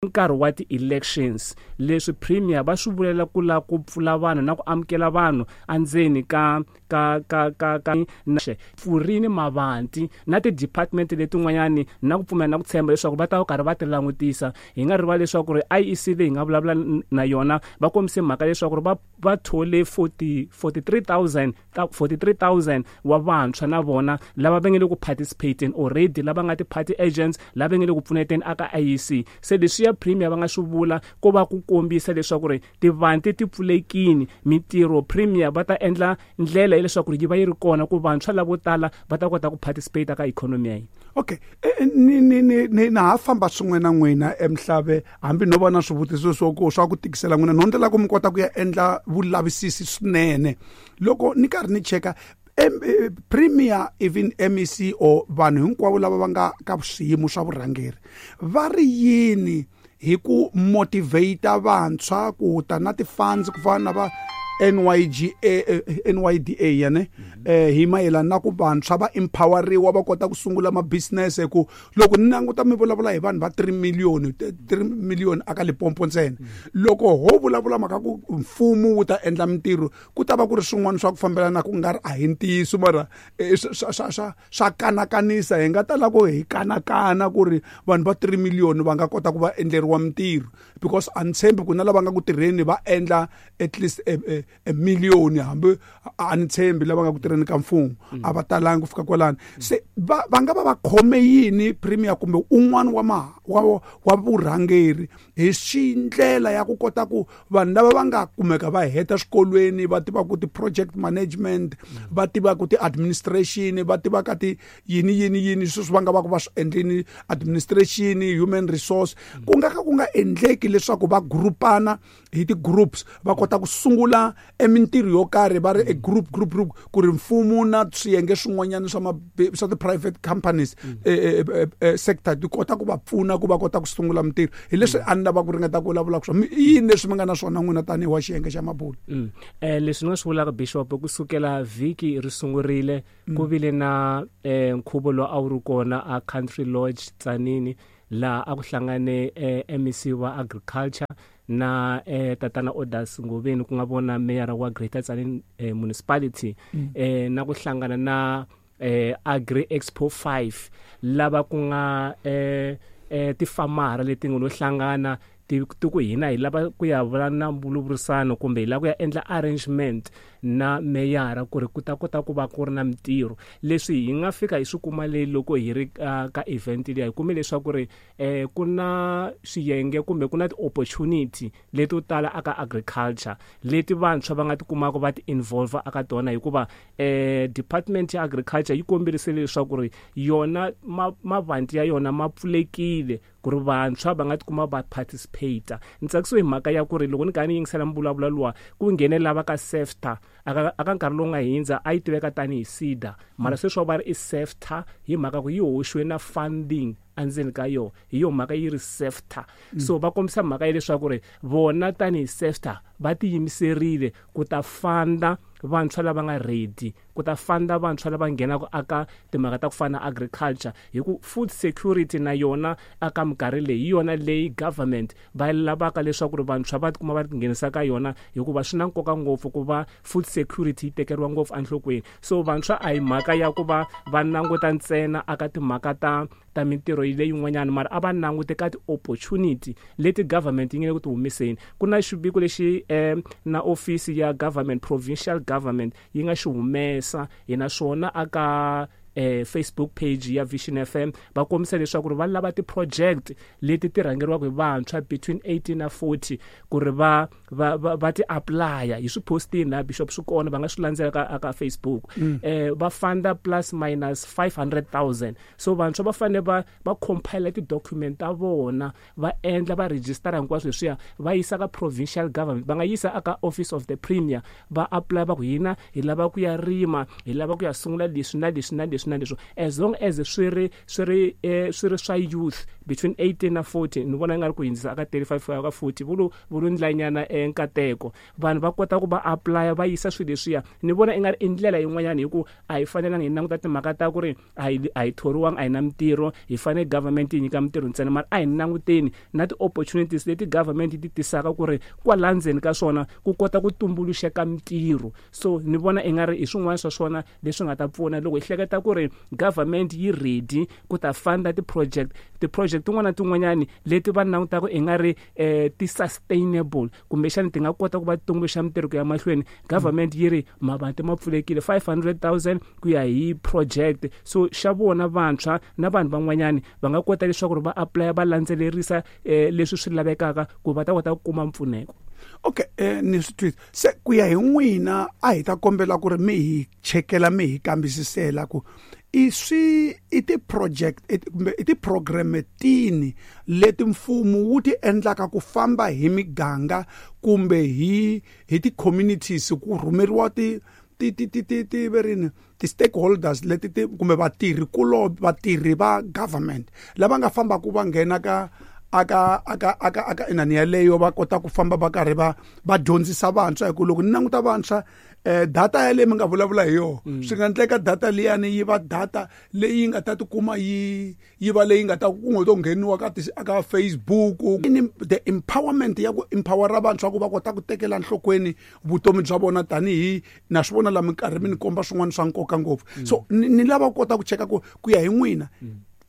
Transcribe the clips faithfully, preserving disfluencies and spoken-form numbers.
Nkarhi wa ti-elections, leswi premier va swi vulela ku lava ku pfula vanhu na ku amukela vanhu endzeni ka ka ka ka ka pfurini mavanti na ti-department letin'wanyani, na ku pfumela na ku tshemba leswaku va ta va karhi va ti langutisa. Hi nga rivali leswaku ri I E C leyi hi nga vulavula na yona, va kombise mhaka leswaku ri va va thole forty forty-three thousand forty-three thousand wa vantshwa, na vona lava va nge le ku participating already, lava nga ti-party agents, lava nge le ku pfuneteni aka I E C. Se leswiya premier va nga swi vula ko va ku kombisa leswaku ri tivanti ti pfulekini, mintirho premier va ta endla ndlela ya leswaku ri yi va yi ri kona ku vantshwa lavo tala va ta kota ku participate ka ikhonomi ya hina. Okay, ni ni ni ni na ha famba swin'we na n'wina emhlave, hambi no va na swivutiso swo ku swa ku tikisela n'wina, no ndlela ku mi kota ku ya endla vulavisisi swinene. Loko ni karhi ni cheka premier, even M E C or vanhu hinkwavo lava va nga ka swiyimo swa vurhangeri, va ri yini hi ku motivate vantshwa ku ta na ti-funds ku fana na va N Y G A, N Y D A yane, eh hi mayelana na ku vantshwa va empoweriwa, va kota ku sungula ma business? Ku loko ni languta, mi vulavula hi vanhu va three million, three million aka Limpopo ntsena. Loko ho vulavula mhaka ku mfumo wu ta endla mintirho, ku ta va ku ri swin'wana swa ku fambelana ku nga ri a hi ntiyiso, mara swa swa swa swa kanakanisa. Hi nga ta lava ku hi kanakana ku ri vanhu va three million va nga kota ku va endleriwa mintirho, because a ni tshembi ku na lava nga ku tirheni va endla at least a, a, a million. Hambi a ni tshembi lava nga ku tirheni ka mfumo a va talangi ku fika kwalano. Se va va nga va va khome yini premier kumbe un'wana wa ma wa wa vurhangeri hi xindlela ya ku kota ku vanhu lava va nga kumeka va heta swikolweni, va tivaka ti-project management, va tivaka ti-administration, va tivaka ti yini yini yini, sweswi va nga va ku va swi endlini administration, human resource, ku nga ka ku nga endleki leswaku va grupana hi ti-groups, va kota ku sungula emintirho yo karhi va ri e group group group, ku ri mfumo na swiyenge swin'wanyana swa swa ti-private companies eh, eh, eh, sector ti kota ku va pfuna ku va kota ku sungula mintirho? Hi leswi a ni lava ku ringeta ku vulavula swona. I yini leswi mi nga na swona n'wina tanihi wa xiyenge xa mabulu? mm. eh leswi ni nga swi vulaka, bishop, kusukela vhiki ri sungurile, ku vile na eh, nkhuvo lowu a wu ri kona a Country Lodge Tzaneen, laha a ku hlangane eh, M E C wa agriculture na eh, tatana Odas Ngoveni, ku nga vona mayor wa Greater Tzaneen eh, Municipality, mm. eh, na ku hlangana na eh, Agri Expo five, lava ku nga eh, eh, tifamara leti nga lo hlangana ti ti ku hina hi lava ku ya vula na mbulavurisano kumbe hi lava ku ya endla arrangement na meyara ku ri ku ta kota ku va ku ri na mintirho. Leswi hi nga fika hi swi kuma leyi loko hi ri ka, ka event liya, hi kume leswaku ri eh, ku na swiyenge kumbe ku na ti-opportunity leto tala aka agriculture leti vantshwa va nga ti kumaka va ti-involve aka tona, hikuva eh, department ya agriculture yi komberisile leswaku ri yona mavanti ya yona ma pfulekile ku ri vantshwa va nga tikuma va participate. Ni tsakisiwe hi mhaka ya ku ri loko ni karhi ni yingisela mbulavulo luwa, ku nghenela ka SEFTA. aka aka nkarhi lowu nga hindza a yi tiveka tanihi SEDA, mara sweswi va ri i SEFTA hi mhaka ku yi hoxiwe na funding endzeni ka yona, hi yo mhaka yi ri SEFTA. So va kombisa mhaka ya leswaku ri vona tanihi SEFTA va tiyimiserile ku ta fanda vantshwa lava nga ready, ku ta fanda vantshwa lava nghenaka aka timhaka ta ku fana na agriculture, hi ku food security na yona aka minkarhi leyi hi yona leyi government va lavaka leswaku ri vantshwa va tikuma va tinghenisa ka yona, hikuva swi na nkoka ngopfu ku va food security yi tekeriwa ngopfu enhlokweni. So vantshwa a hi mhaka ya ku va va languta ntsena aka timhaka ta ta mintirho leyin'wanyana, mara a va langute ka ti-opportunity leti government yi nge le ku ti humeseni. Ku na xiviko lexi eh, na office ya government, provincial government, yi nga xi humesa hi naswona aka eh, Facebook page ya Vision F M, va kombisa leswaku ri va lava ti-project leti ti rhangeriwaka hi vantshwa between eighteen na forty ku ri va va va, va ti applya. Hi swi postini na bishop, swi kona, va nga swi landzela ka aka Facebook. mm. eh va funda plus minus five hundred thousand. So vantshwa va fanele va va compile ti-document ta vona, va endla va registera hinkwaswo leswiya, va yisa ka provincial government, va nga yisa aka office of the premier, va apply, va ku hina hi lava ku ya rima, hi lava ku ya sungula leswi na leswi na leswi. leswi na leswo, as long as swi ri swi ri eh, swi ri swa youth between eighteen na forty. Ni vona nga ri ku hindzisa aka thirty-five ku ya ka forty, vulu vulu ndlanyana eh, nkateko vanhu va kota ku va apply, va yisa swilo leswiya. Ni vona i nga ri i ndlela yin'wanyana, hi ku a hi fanelanga hi languta timhaka ta ku ri a hi a hi thoriwanga, a hi na mintirho, hi fanele government yi nyika mintirho ntsena, mara a hi languteni na ti-opportunities leti government yi ti tisaka ku ri kwala ndzeni ka swona ku kota ku tumbuluxeka mintirho. So ni vona i nga ri hi swin'wana swa swona leswi nga ta pfuna loko hi hleketa ku ri government yi ready ku ta funda ti-project ti-project tin'wana na tin'wanyani leti va langutaka i nga ri eh, ti-sustainable, kumbexani ti nga kota ku va tumbuluxa mintirho ku ya mahlweni. Government yi ri mavanti ma pfulekile, five hundred thousand ku ya hi project. So xa vona vantshwa na vanhu van'wanyani va nga kota leswaku ri va apply, va landzelerisa eh, leswi swi lavekaka ku va ta kota ku kuma mpfuneko. Okay, eh ni swi twisa. Se ku ya hi n'wina, a hi ta kombela ku ri mi hi chekela, mi hi kambisisela ku i swi i ti-project kumbe i ti-program tini leti mfumo wu ti endlaka ku famba hi miganga kumbe hi hi ti-communities, ku rhumeriwa ti ti ti ti ti ti verini ti-stakeholders leti ti kumbe vatirhi kulo vatirhi va government lava nga fambaka va nghena ka aka aka aka aka inani yaleyo, va kota ku famba va karhi va va dyondzisa vantshwa? Hi ku loko ni languta vantshwa, eh data yaleyi mi nga vulavula hi yona, swi nga endleka data liyani yi va data leyi nga ta tikuma yi yi va leyi nga ta ku nga to ngheniwa ka aka Facebook. Ni the empowerment ya ku empowera vantshwa ku va kota ku tekela nhlokweni vutomi bya vona, tanihi na swi vona la minkarhi mi ni komba swin'wana swa nkoka ngopfu. So ni, ni lava ku kota ku cheka ku ku ya hi n'wina,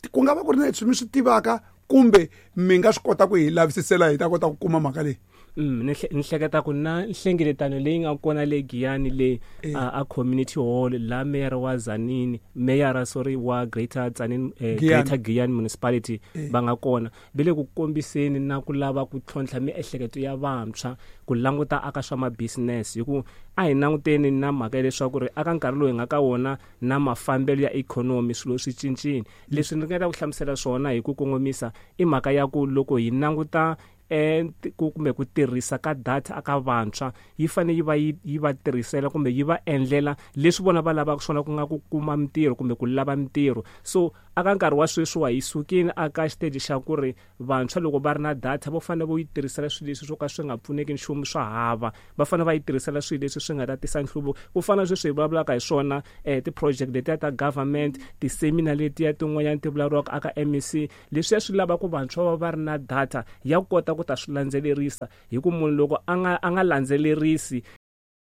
ku nga va ku ri na leswi mi swi tivaka kumbe mi nga swi kota ku hi lavisisela hi ta kota ku kuma mhaka leyi? Mm, ni ni hleketa ku na nhlengeletano leyi nga kona le Giyani le a, a community hall la mayor wa Tzaneen, mayor, sorry, wa Greater Tzaneen, eh, Greater Giyani Municipality va nga kona, ve le ku kombiseni na ku lava ku tlhontlha miehleketo ya vantshwa ku languta aka swa ma-business, hi ku a hi languteni na mhaka ya leswaku ri aka nkarhi lowu hi nga ka wona na mafambelo ya ikhonomi, swilo swi cincile. Leswi ni ringeta ku hlamusela swona hi ku kongomisa i mhaka ya ku loko hi languta eh kumbe ku tirhisa ka data aka vantshwa, yi fanele yi va yi yi va tirhisela kumbe yi va endlela leswi vona va lavaka swona, ku nga ku kuma mintirho kumbe ku lava mintirho. So aka nkarhi wa sweswiwa hi sukile aka xiteji xa ku ri vantshwa loko va ri na data vo fanele vo yi tirhisela swilo leswi swo ka swi nga pfuneki nchumu swa hava, va fanele va yi tirhisela swilo leswi swi nga ta tisa nhluvuko, ku fana na sweswi hi vulavulaka hi swona, eh ti-project letiya ta government, ti-seminar letiya tin'wanyana ti vulavuriwaka aka M E C. Leswiya swi lava ku vantshwa va va ri na data ya kota ku ta swi landzelerisa, hi ku munhu loko a nga a nga landzelerisi